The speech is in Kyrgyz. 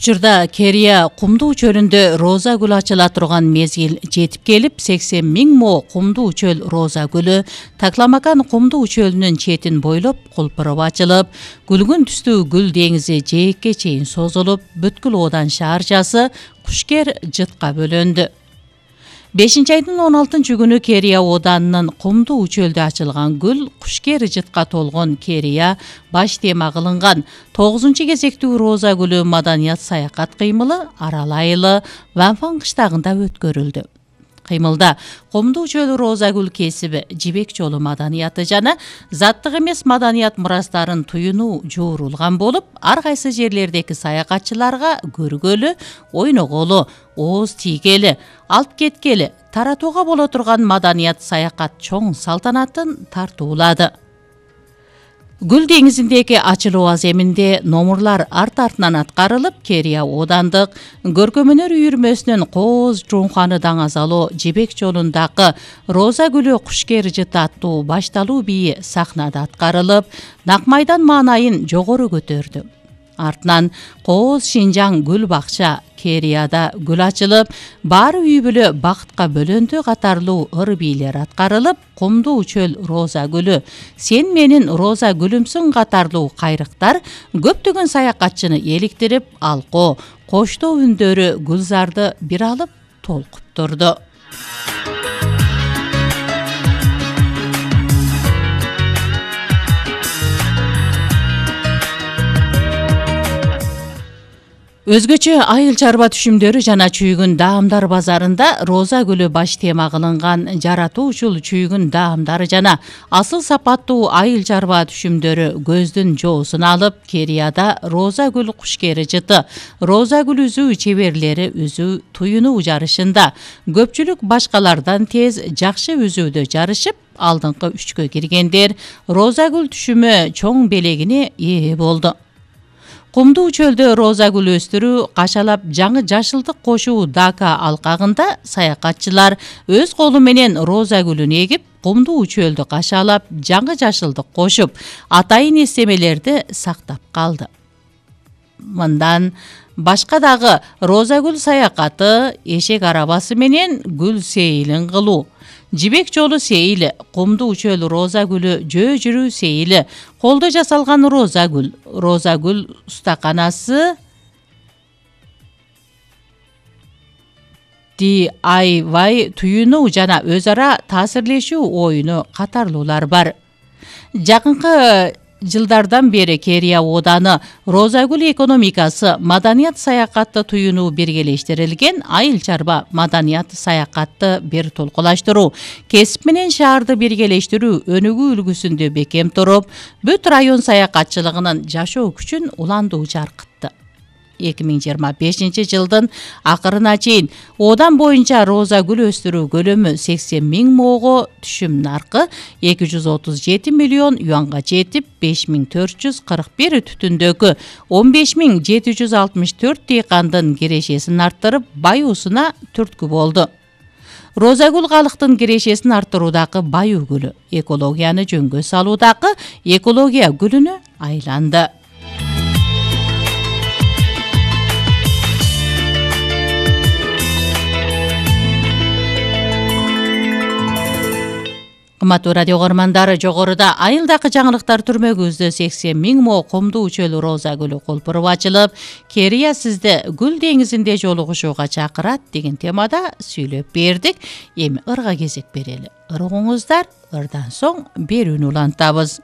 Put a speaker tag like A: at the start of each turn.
A: Учурда Керия кумдуу чөлүндө роза гүлү ачыла турган мезгил жетип келип, 80 миң мо кумдуу чөл роза гүлү Такламакан кумдуу чөлүнүн четин бойлоп кулпуруп ачылып, күлгүн түстүү гүл деңизи жээкке чейин созулуп, бүткүл Одан шаарчасы Кушкер жытка бөлөндү. 5-айдын 16-күнү Керия Оданынын кумдуу чөлдө ачылган гүл Кушкер жытка толгон Керия баш тема кылынган 9-кезектүү роза гүлү маданият саякат кыймылы Арал айылы Ванфан кыштагында өткөрүлдү. Кыймылда кумдуу чөл роза гүл кесиби, жибек жолу маданияты жана заттык эмес маданият мурастарын туюнуу жуурулган болуп, ар кайсы жерлердеги саякатчыларга көргөлү, ойноголу, ооз тийгели, алып кеткели, таратууга боло турган маданият саякат чоң салтанатын тартуулады. Гүл деңизиндеги ачылуу аземинде номурлар арт-артынан аткарылып, Керия Одандык көркөмөнөр үйүрмөсүнүн Кооз Жуунханы даңазалоо жибек жолундагы роза гүлү Кушкер жыты аттуу башталуу бийи сахнада аткарылып, Накмайдан маанайын жогору көтөрдү. Артынан Кооз Шинжаң гүл бакча Керияда гүл ачылып, баары үй бүлө бакытка бөлөндү катарлуу ыр бийлер аткарылып, кумдуу чөл роза гүлү, сен менин роза гүлүмсүң катарлуу кайрыктар көптөгөн саякатчыны эликтирип, алкоо, коштоо үндөрү гүлзарды бир алып толкуп турду. Өзгөчө айыл чарба түшүмдөрү жана чүйгүн даамдар базарында роза гүлү баш тема кылынган жаратуучул чүйгүн даамдары жана асыл сапаттуу айыл чарба түшүмдөрү көздүн жоосун алып, Керияда роза гүл Кушкери жыты, роза гүл үзүү чеберлери үзүү туюнуу жарышында көпчүлүк башкалардан тез жакшы үзүүдө жарышып, алдыңкы 3кө киргендер роза гүл түшүмө чоң белегине ээ болду. Кумдуу чөлдө роза гүл өстүрүү кашалап жаңы жашылдык кошуу Дака алкагында саякатчылар өз колу менен роза гүлүн эгип, кумдуу чөлдү кашалап жаңы жашылдык кошуп, атайын эстемелерди сактап калды. Мындан башка дагы роза гүл саякаты, эшек арабасы менен гүл сейилин кылуу, жибек жолу сейили, кумдуу чөл роза гүлү жөө жүрүү сейили, колдо жасалган роза гүл устаканасы, DIY туюнуу жана өз ара таасирлешүү оюну катарлуулар бар. Жакынкы жылдардан бери Керия Оданы роза гүл экономикасы, маданият саякатты туюнуу биргелештирилген айыл чарба маданият саякатты бир толкулаштыруу, кесип менен шаарды биргелештирүү өнүгүү үлгүсүндө бекем туруп, бүт район саякатчылыгынын жашоо күчүн уландуу жаркытты. 2025 жылдын акырына чейин Одан боюнча роза гүл өстүрүү көлөмү 80 миң моого, түшүм наркы 237 миллион юанга жетип, 5441 түтүндөгү 15764 дыйкандын кирешесин арттырып, баюусуна түрткү болду. Роза гүл калктын кирешесин арттыруудагы баюу гүлү, экологияны жөнгө салуудагы экология гүлүнө айланды. Кымбаттуу радио көрөрмандары, жогоруда айылдагы жаңылыктар түрмөгүбүздө 80 миң мо кумдуу чөл роза гүлү кулпуруп ачылып, Керия сизди гүл деңизинде жолугушууга чакырат деген темада сүйлөп бердик. Эми ырга кезек берели. Ыр угуңуздар, ырдан соң берүүнү улантабыз.